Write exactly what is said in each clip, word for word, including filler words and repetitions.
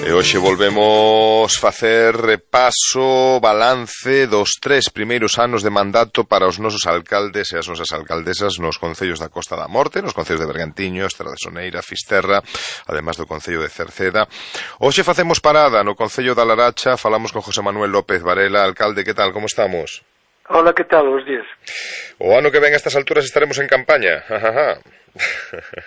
E hoxe volvemos facer repaso, balance dos tres primeiros anos de mandato para os nosos alcaldes e as nosas alcaldesas nos concellos da Costa da Morte, nos concellos de Bergantiño, Estrada de Soneira, Fisterra, además do concello de Cerceda. Hoxe facemos parada no concello da Laracha, falamos con José Manuel López Varela. Alcalde, que tal, como estamos? Hola, que tal, os días? O ano que ven a estas alturas estaremos en campaña, jajaja.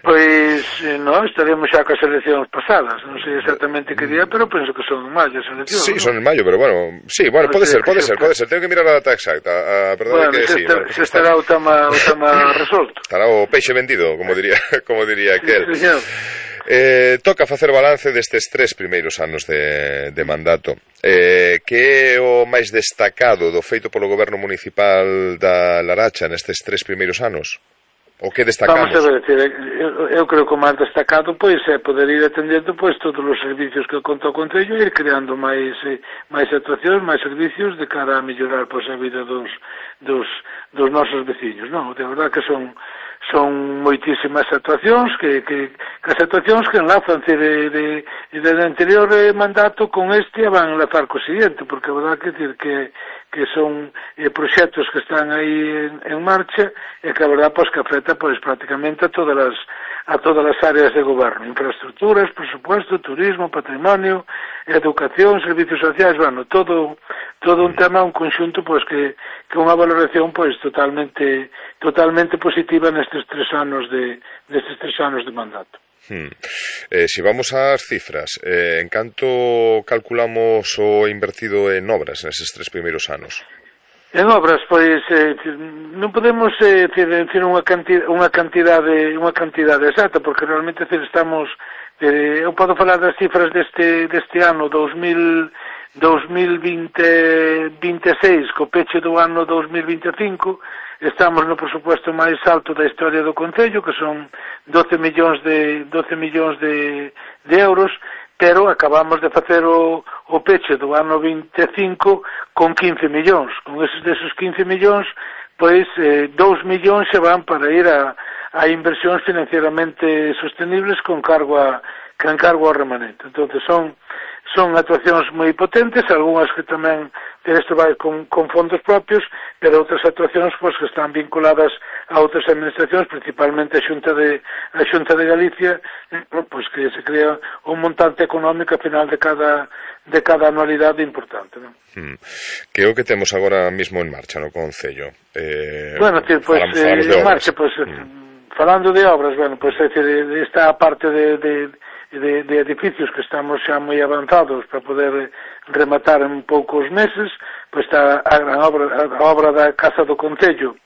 Pois, non, estaremos xa coas eleccións pasadas, non sei exactamente que día, pero penso que son en maio as eleccións. Sí, ¿no? son en maio, pero bueno, sí, bueno, pode ser, pode ser, pode ser, tengo que mirar a data exacta, a, perdón, bueno, que se sí. Estar, bueno, se estará o tema, o tema resolto. Estará o peixe vendido, como diría, como diría aquel. Sí, señor. Eh, toca facer balance destes tres primeiros anos de, de mandato. Eh, que é o máis destacado do feito polo goberno municipal da Laracha nestes tres primeiros anos? O que destacamos? Vamos a ver, eu, eu creo que o máis destacado pois é poder ir atendendo pois todos os servicios que conta o Concello e ir creando máis eh, máis actuacións, máis servicios de cara a mellorar pois a vida dos dos dos nosos veciños, non? De verdade que son son moitísimas actuacións que, que, que as actuacións que enlazan de, de, de anterior mandato con este van a enlazar co siguiente, porque a verdade que decir que que son eh, proxectos que están aí en, en marcha e que a verdade pois que afecta pois prácticamente a todas as a todas as áreas de goberno, infraestructuras, presupuesto, turismo, patrimonio, educación, servicios sociais, bueno, todo todo un tema, un conxunto pois que que unha valoración pois totalmente totalmente positiva nestes tres anos de nestes tres anos de mandato. Hmm. Eh, si vamos ás cifras, eh, en canto calculamos o invertido en obras neses tres primeiros anos? En obras, pois, eh, non podemos eh, decir unha cantidade, unha cantidade, unha cantidade exacta, porque realmente decir, estamos, eh, eu podo falar das cifras deste deste ano dos mil vinte, vinte e seis, co peche do ano dos mil vinte e cinco, estamos no presupuesto máis alto da historia do Concello, que son doce millóns de doce millóns de, de euros, pero acabamos de facer o, o peche do ano vinte e cinco con quince millóns. Con esos desos quince millóns, pois eh, dous millóns se van para ir a, a inversións financieramente sostenibles con cargo a, con cargo ao remanente. Entonces son son actuacións moi potentes, algunhas que tamén isto vai con, con fondos propios, pero outras actuacións pois, que están vinculadas a outras administracións, principalmente a Xunta de a Xunta de Galicia, pois que se crea un montante económico a final de cada de cada anualidade importante, non? Hmm. Que é o que temos agora mismo en marcha no Concello? Eh, bueno, tío, pois falamos, falamos eh, en marcha, pois hmm. falando de obras, bueno, pois é dicir, esta parte de, de De, de edificios que estamos xa moi avanzados para poder rematar en poucos meses, pois está a gran obra, a obra da Casa do Concello,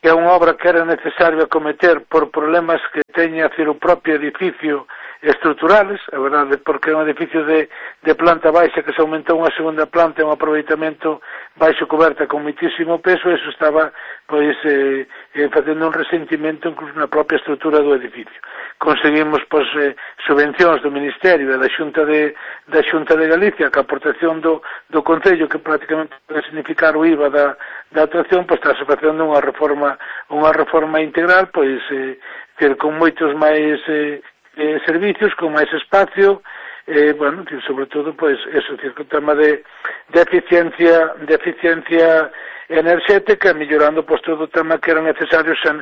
que é unha obra que era necesario acometer por problemas que teña a o propio edificio estruturales, a verdade, porque é un edificio de, de planta baixa que se aumentou unha segunda planta e un aproveitamento baixo coberta con muitísimo peso, e eso estaba pois eh, eh, facendo un resentimento incluso na propia estrutura do edificio. Conseguimos pois eh, subvencións do Ministerio e da Xunta de da Xunta de Galicia, que a aportación do, do Concello, que prácticamente pode significar o I V A da, da actuación, pois está facendo unha reforma unha reforma integral, pois eh, ter con moitos máis eh, eh, servicios, con máis espacio, eh, bueno, sobre todo, pois, eso, o tema de, de eficiencia, de eficiencia enerxética, mellorando, pois, todo o tema que era necesario, san,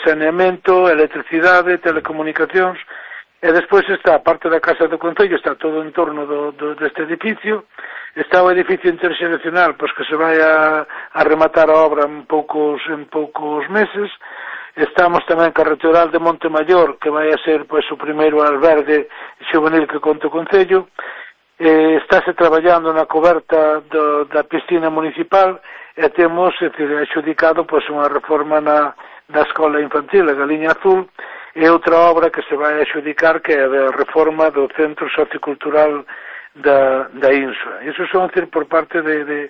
saneamento, electricidade, telecomunicacións, e despois está a parte da Casa do Concello, está todo en torno do, do, deste edificio, está o edificio interxeracional, pois, que se vai a, a rematar a obra en poucos, en poucos meses. Estamos tamén ca Rectoral de Montemayor, que vai a ser pois o primeiro albergue xuvenil que conta o Concello. Eh, estáse traballando na coberta do, da piscina municipal e temos é dicir, adxudicado pois unha reforma na, na escola infantil, a Galiña Azul, e outra obra que se vai adxudicar que é a reforma do Centro Sociocultural da, da Insua. Iso son decir, por parte de, de,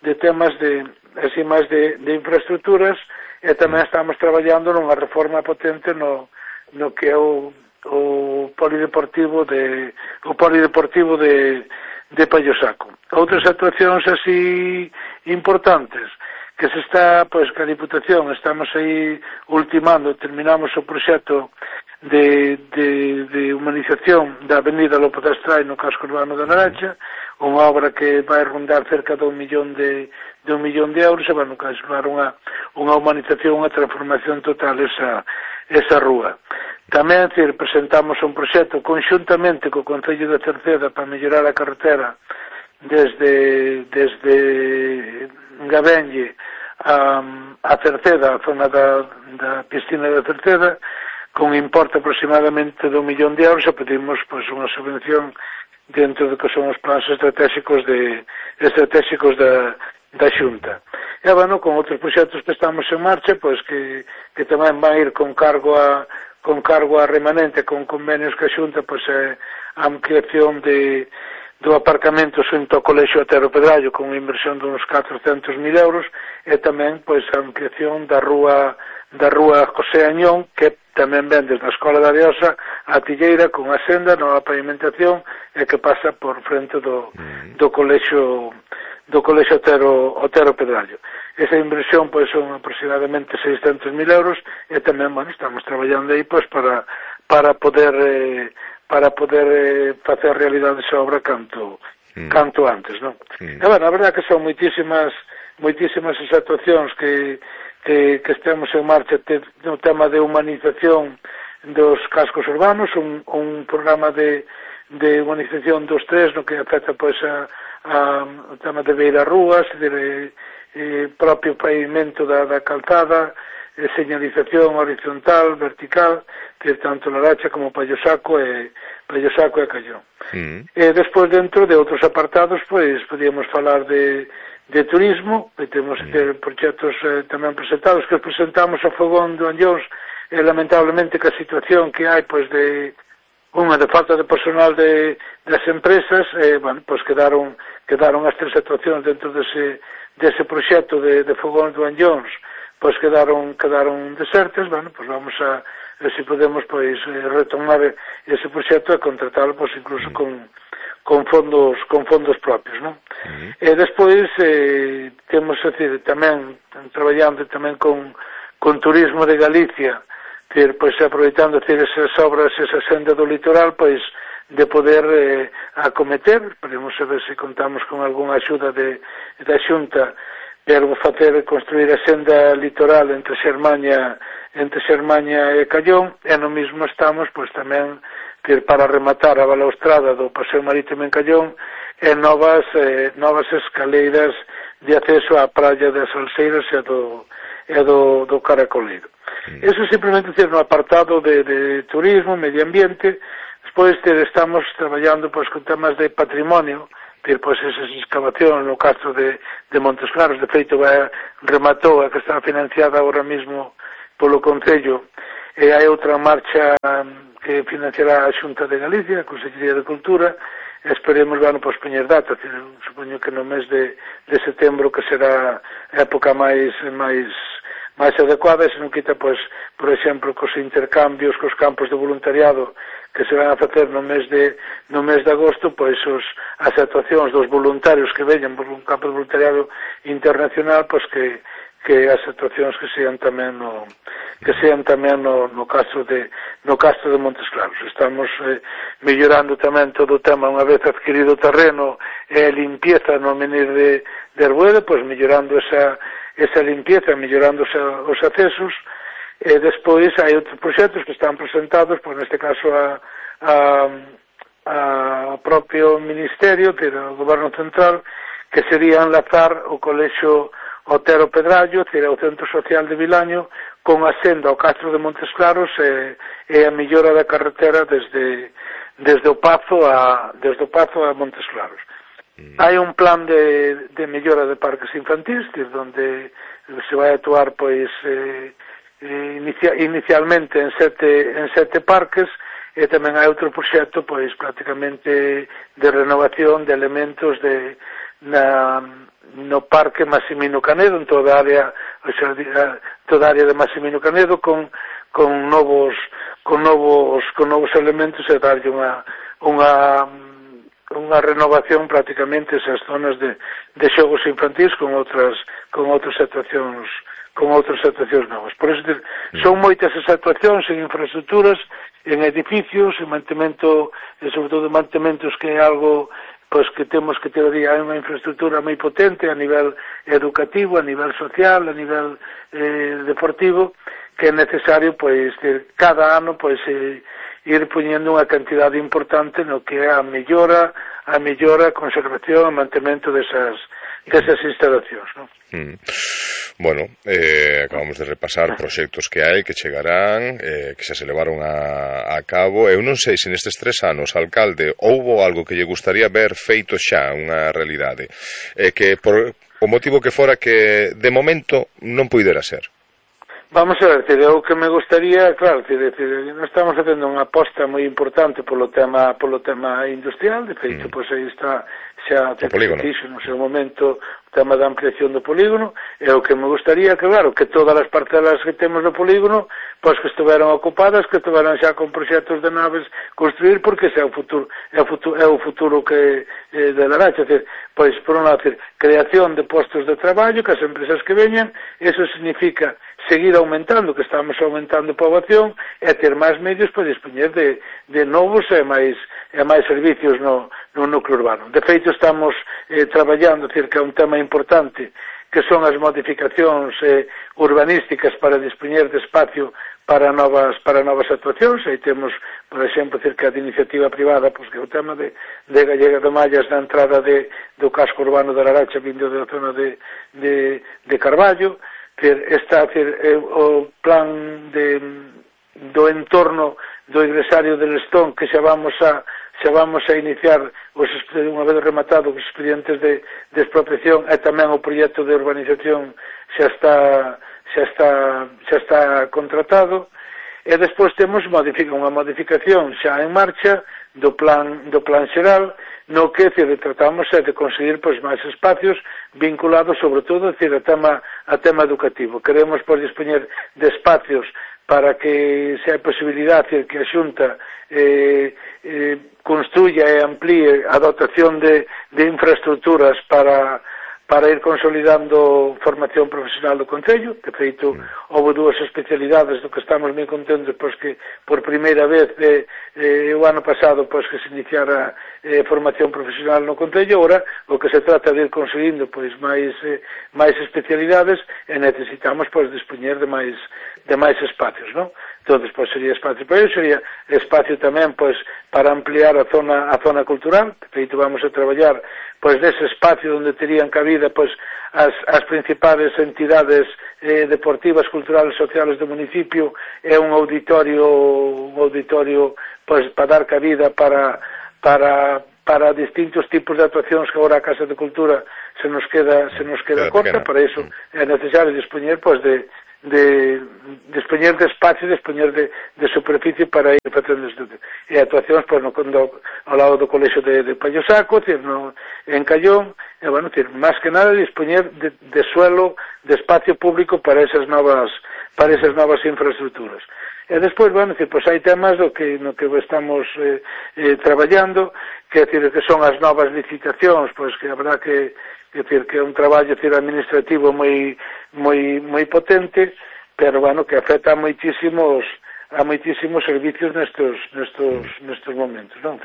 de temas de, así máis de, de infraestructuras. E tamén estamos traballando nunha reforma potente no, no que é o, o polideportivo de o polideportivo de, de Pallosaco. Outras actuacións así importantes que se está, pois, que a Diputación estamos aí ultimando, terminamos o proxecto de, de, de humanización da avenida Lopo de Astrai no casco urbano da Laracha, unha obra que vai rondar cerca de un millón de, de un millón de euros, e bueno, que vai levar unha, unha humanización, unha transformación total esa, esa rúa. Tamén, decir, presentamos un proxecto conxuntamente co Concello de Cerceda para mellorar a carretera desde, desde Gabenlle a, a Cerceda, a zona da, da piscina de Cerceda, con importe aproximadamente de un millón de euros, e pedimos pois, unha subvención dentro do que son os plans estratégicos de estratégicos da, da Xunta. E, bueno, con outros proxectos que estamos en marcha, pois que, que tamén van ir con cargo a con cargo a remanente, con convenios que a Xunta, pois é a ampliación de do aparcamento xunto ao Colexio Otero Pedrallo con unha inversión de uns catrocentos mil euros, e tamén pois a ampliación da rúa da rúa José Añón, que tamén ven desde a Escola da Ariosa a Tilleira con a senda, nova pavimentación, e que pasa por frente do, do colexio do colexio Otero, Otero Pedrallo. Esa inversión pois son aproximadamente seiscentos mil euros, e tamén, bueno, estamos traballando aí pois para para poder eh, para poder eh, facer realidade esa obra canto mm. canto antes, non? Mm. E, bueno, a verdade que son moitísimas moitísimas as actuacións que que, que estemos en marcha no tema de humanización dos cascos urbanos, un, un programa de, de humanización dos tres, no que afecta pois a, a o tema de beira rúas, de eh, propio pavimento da, da calzada, eh, señalización horizontal, vertical, que tanto Laracha como Pallosaco e Pallosaco e Callón. Mm. E despois, dentro de outros apartados, pois podíamos falar de de turismo, que temos que ter proxectos eh, tamén presentados, que presentamos a Fogón do Anllóns, e lamentablemente que a situación que hai, pois, de unha de falta de personal de, das empresas, eh, bueno, pois quedaron, quedaron as tres actuacións dentro dese, dese proxecto de, de Fogón do Anllóns, pois quedaron, quedaron desertas, bueno, pois vamos a, a se podemos, pois, retomar ese proxecto e contratalo, pois, incluso con con fondos con fondos propios, non? Uh-huh. E despois eh, temos, decir, tamén traballando tamén con, con Turismo de Galicia, ter, pois aproveitando decir, esas obras, esa senda do litoral, pois de poder eh, acometer, podemos saber se contamos con algunha axuda de, da Xunta, pero facer construir a senda litoral entre Xermaña entre Xermaña e Callón, e no mismo estamos, pois tamén que para rematar a balaustrada do Paseo Marítimo en Callón e novas eh, novas escaleiras de acceso á praia das Salseiras e do, e do, do Caracoleiro. Mm. Eso simplemente é no apartado de, de turismo, medio ambiente. Despois ter, estamos traballando pois, con temas de patrimonio, ter pois, esas excavacións no castro de, de Montes Claros. De feito, vai, rematou a que está financiada agora mesmo polo Concello, e hai outra marcha que financiará a Xunta de Galicia, a Consellería de Cultura, e esperemos, bueno, pois, poñer data, supoño que no mes de, de setembro, que será a época máis máis máis adecuada, e se non quita, pois, por exemplo, cos intercambios, cos campos de voluntariado que se van a facer no mes de no mes de agosto, pois os, as actuacións dos voluntarios que veñan por un campo de voluntariado internacional, pois que que as actuacións que sean tamén no que sean tamén no, no castro de no castro de Montes Claros. Estamos eh, mellorando tamén todo o tema unha vez adquirido o terreno e a limpieza no menir de, de Arbueda, pois mellorando esa esa limpieza, mellorando os, os accesos, e despois hai outros proxectos que están presentados, pois neste caso a a, a propio Ministerio, pero o Goberno Central, que sería enlazar o Colexio Otero Pedrallo, que era o Centro Social de Vilaño, con a senda ao Castro de Montes Claros e, e a mellora da carretera desde, desde o Pazo a desde o Pazo a Montes Claros. Mm. Hai un plan de, de mellora de parques infantis, onde se vai actuar pois eh, inicia, inicialmente en sete, en sete parques, e tamén hai outro proxecto pois prácticamente de renovación de elementos de na no Parque Massimino Canedo, en toda a área, o sea, toda a área de Massimino Canedo, con con novos con novos con novos elementos, e darlle unha unha unha renovación prácticamente esas zonas de, de xogos infantis con outras con outras actuacións con outras actuacións novas. Por eso son moitas as actuacións en infraestructuras, en edificios, en mantemento, e sobre todo en mantementos que é algo pois que temos que ter aí unha infraestructura moi potente a nivel educativo, a nivel social, a nivel eh, deportivo, que é necesario pois ter cada ano pois eh, ir poñendo unha cantidade importante no que é a mellora, a mellora, a conservación, a mantemento desas desas instalacións, non? Mm. Bueno, eh, acabamos de repasar proxectos que hai, que chegarán, eh, que xa se levaron a, a cabo. Eu non sei se nestes tres anos, alcalde, houbo algo que lle gustaría ver feito xa unha realidade, eh, que por o motivo que fora que de momento non puidera ser. Vamos a ver, decir, o que me gustaría, claro, decir, decir, nós estamos facendo unha aposta moi importante polo tema polo tema industrial, de feito, mm. pois aí está xa te dixo no seu momento o tema da ampliación do polígono, e o que me gustaría que, claro, que todas as parcelas que temos no polígono, pois que estiveran ocupadas, que estiveran xa con proxectos de naves construir, porque ese é o futuro, é o futuro, é o futuro que eh, de Laracha, decir, pois, por un lado, decir, creación de postos de traballo, que as empresas que veñan, eso significa seguir aumentando, que estamos aumentando a poboación, e ter máis medios para dispoñer de, de novos e máis, e máis servicios no, no núcleo urbano. De feito, estamos eh, traballando, decir, que é un tema importante, que son as modificacións eh, urbanísticas para dispoñer de espacio para novas para novas actuacións. Aí temos, por exemplo, cerca de iniciativa privada, pois que é o tema de, de Gallega de Mallas na entrada de, do casco urbano de Laracha, vindo da zona de, de, de Carballo. Ter, está ter, eh, o plan de, do entorno do ingresario del Lestón, que xa vamos a xa vamos a iniciar os, unha vez rematado os expedientes de, de expropiación, e tamén o proxecto de urbanización xa está xa está xa está contratado, e despois temos modifica, unha modificación xa en marcha do plan do plan xeral, no que decir, tratamos é de conseguir pois máis espacios vinculados sobre todo decir, a tema a tema educativo. Queremos pois dispoñer de espacios para que se hai posibilidade decir, que a Xunta eh, eh, construya e amplíe a dotación de, de infraestructuras para para ir consolidando formación profesional do Concello. De feito, houve dúas especialidades do que estamos moi contentos, pois que por primeira vez eh, eh, o ano pasado pois que se iniciara eh, formación profesional no Concello. Ora, o que se trata de ir conseguindo pois máis eh, máis especialidades, e necesitamos pois dispoñer de máis de máis espacios, non? Entón, pois sería espacio para isso, sería espacio tamén pois para ampliar a zona a zona cultural. De feito, vamos a traballar pois dese espacio onde terían cabida pois as, as principales entidades eh, deportivas, culturales, sociales do municipio, é un auditorio un auditorio pois para dar cabida para para para distintos tipos de actuacións que agora a Casa de Cultura se nos queda se nos queda corta. Para iso é necesario dispoñer pois de de dispoñer de espacio, dispoñer de, de superficie para ir facendo estudo. E actuacións pois, no, no, ao lado do colexio de, de Pallosaco, decir, no, en Callón, e, bueno, decir, máis que nada dispoñer de, de suelo, de espacio público para esas novas para esas novas infraestructuras. E despois, bueno, decir, pois hai temas do que, no que estamos eh, eh, traballando, que, decir, que son as novas licitacións, pois que habrá que é dicir, que é un traballo dicir, administrativo moi moi moi potente, pero bueno, que afecta a moitísimos a moitísimos servicios nestos nestos nestos momentos, non?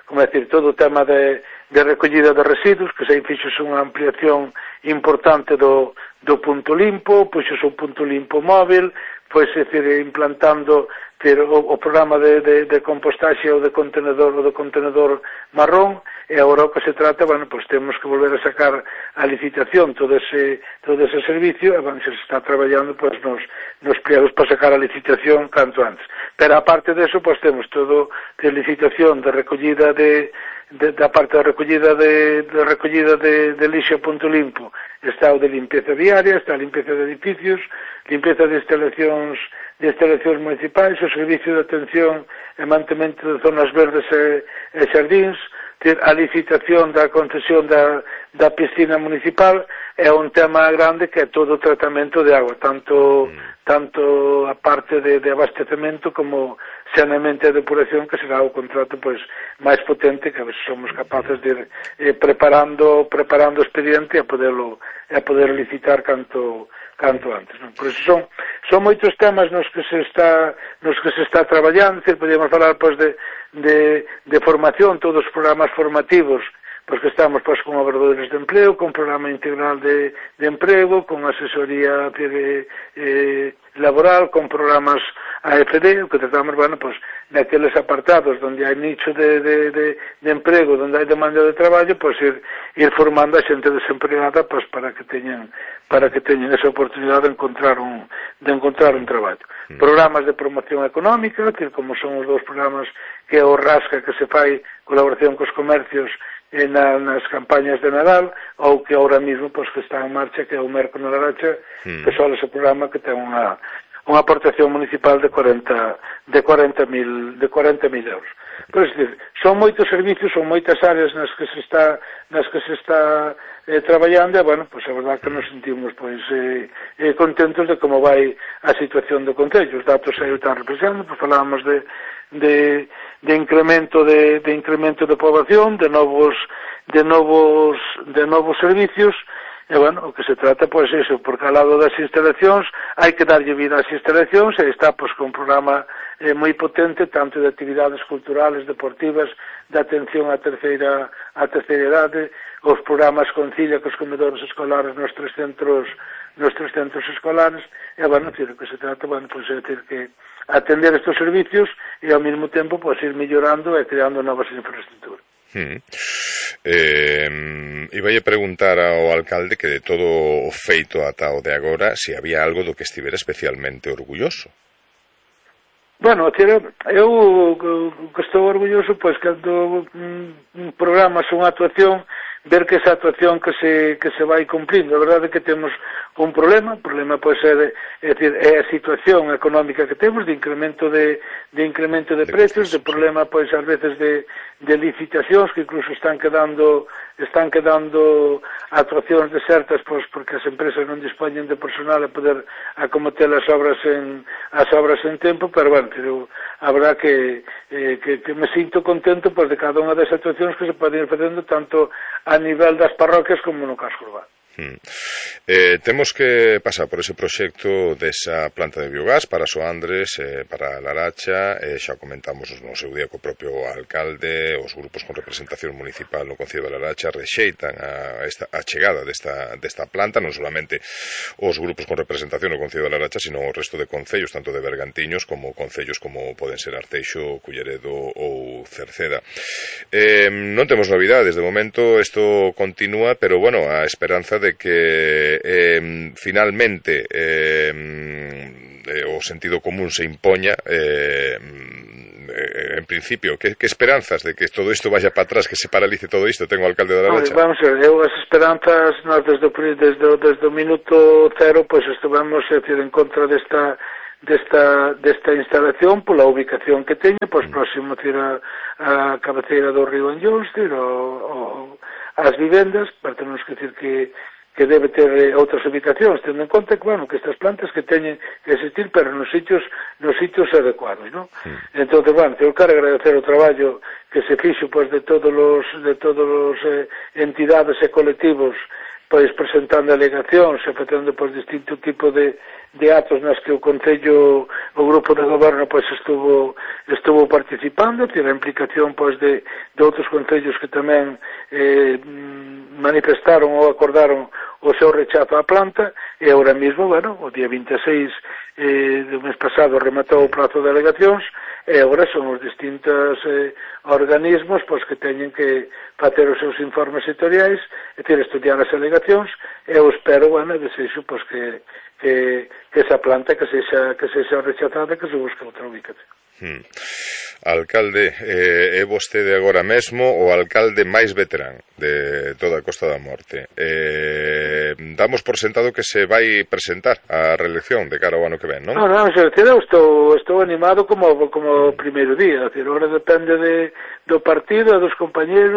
Como é dicir, todo o tema de de recollida de residuos, que se fixo unha ampliación importante do do punto limpo, pois é un punto limpo móvil, pois é dicir, implantando ter, o, o programa de, de, de compostaxe ou de contenedor ou de contenedor marrón. E agora o que se trata, bueno, pois temos que volver a sacar a licitación todo ese todo ese servicio, e bueno, se está traballando pois nos, nos pliegos para sacar a licitación canto antes. Pero aparte de eso, pois temos todo de licitación de recollida de, de da parte da recollida de, de recollida de, de lixo punto limpo, está o de limpieza diaria, está a limpieza de edificios, limpieza de instalacións de instalacións municipais, o servicio de atención e mantemento de zonas verdes e, e xardíns, a licitación da concesión da, da piscina municipal. É un tema grande que é todo o tratamento de agua, tanto mm. tanto a parte de, de abastecemento como saneamento e depuración, que será o contrato pois máis potente, que a veces somos capaces de ir eh, preparando preparando o expediente e a poderlo e a poder licitar canto canto antes, non? Por iso son son moitos temas nos que se está nos que se está traballando, decir, podíamos falar pois de de de formación, todos os programas formativos, pois que estamos pois con operadores de empleo, con programa integral de, de emprego, con asesoría de, eh, laboral, con programas A F D, o que tratamos, bueno, pois, naqueles apartados onde hai nicho de, de, de, de emprego, onde hai demanda de traballo, pois ir, ir formando a xente desempregada, pois, para que teñan para que teñan esa oportunidade de encontrar un de encontrar un traballo. Mm. Programas de promoción económica, que como son os dous programas que é o Rasca, que se fai colaboración cos comercios Na, nas campañas de Nadal, ou que ahora mismo pois, que está en marcha, que é o Merco na Laracha, mm. que só ese programa que ten unha, unha aportación municipal de cuarenta mil euros. Pois, decir, son moitos servicios, son moitas áreas nas que se está nas que se está eh, traballando, e, bueno, pois a verdade que nos sentimos pois eh, eh, contentos de como vai a situación do Concello. Os datos aí están representando, pois falábamos de de de incremento de, de incremento de poboación, de novos de novos de novos servicios, e bueno, o que se trata pois é iso, porque ao lado das instalacións hai que darlle vida ás instalacións, e está pois con un programa eh, moi potente, tanto de actividades culturales, deportivas, de atención á terceira á terceira idade, os programas Concilio cos comedores escolares nos tres centros nos tres centros escolares, e bueno, decir, o que se trata, bueno, pois é decir que atender estes servicios e ao mesmo tempo pois ir mellorando e creando novas infraestructuras. Hmm. Eh, iba a preguntar ao alcalde que de todo o feito ata o de agora se había algo do que estivera especialmente orgulloso. Bueno, eu que estou orgulloso pois cando un programa, unha actuación, ver que esa actuación que se que se vai cumplindo. A verdade é que temos un problema, o problema pois é, é, decir, é a situación económica que temos de incremento de, de incremento de precios, de problema pois ás veces de, de licitacións que incluso están quedando están quedando actuacións desertas pois porque as empresas non dispoñen de personal a poder acometer as obras en as obras en tempo, pero bueno, pero a verdade que, eh, que, que me sinto contento pois de cada unha das actuacións que se poden ir facendo tanto a nivel das parroquias como no casco urbano. Hmm. Eh, temos que pasar por ese proxecto desa planta de biogás para Soandres, eh, para Laracha, eh, xa comentamos no seu día co propio alcalde, os grupos con representación municipal no Concello de Laracha rexeitan a, esta, a chegada desta, desta planta, non solamente os grupos con representación no Concello de Laracha, sino o resto de concellos, tanto de Bergantiños como concellos como poden ser Arteixo, Culleredo ou Cerceda. Eh, non temos novidades, de momento isto continúa, pero bueno, a esperanza de que eh, finalmente eh, eh, o sentido común se impoña, eh, eh, en principio, que, que esperanzas de que todo isto vaya para atrás, que se paralice todo isto, ten o alcalde de Laracha? Vamos a ver, eu as esperanzas, nós desde, desde, desde o minuto cero, pois pues, estuvemos a decir, en contra desta desta, desta instalación pola ubicación que teña, pois pues, mm. próximo a, a cabeceira do río Anllóns, o, o, as vivendas, pero temos que decir que que debe ter eh, outras ubicacións, tendo en conta que, bueno, que estas plantas que teñen que existir, pero nos sitios nos sitios adecuados, non? Mm. Entón, bueno, eu quero agradecer o traballo que se fixo, pois, de todos os de todos os eh, entidades e colectivos, pois, presentando alegacións e facendo, pois, distinto tipo de de actos nas que o Concello, o grupo de goberno, pois, estuvo estuvo participando, tiene a implicación, pois, de, de outros concellos que tamén eh, manifestaron ou acordaron o seu rechazo á planta, e agora mesmo, bueno, o día vinte e seis eh, do mes pasado rematou o prazo de alegacións, e agora son os distintos eh, organismos pois, que teñen que facer os seus informes sectoriais, e ter estudiar as alegacións, e eu espero, bueno, desexo, pois, que Que, que esa planta que sexa, que sexa rechazada, que se busque outra ubicación. Hmm. Alcalde, eh, é vostede agora mesmo o alcalde máis veterán de toda a Costa da Morte. Eh, damos por sentado que se vai presentar a reelección de cara ao ano que ven, non? Non, non, eu estou, estou animado como, como o primeiro día, agora depende de, do partido e dos compañeros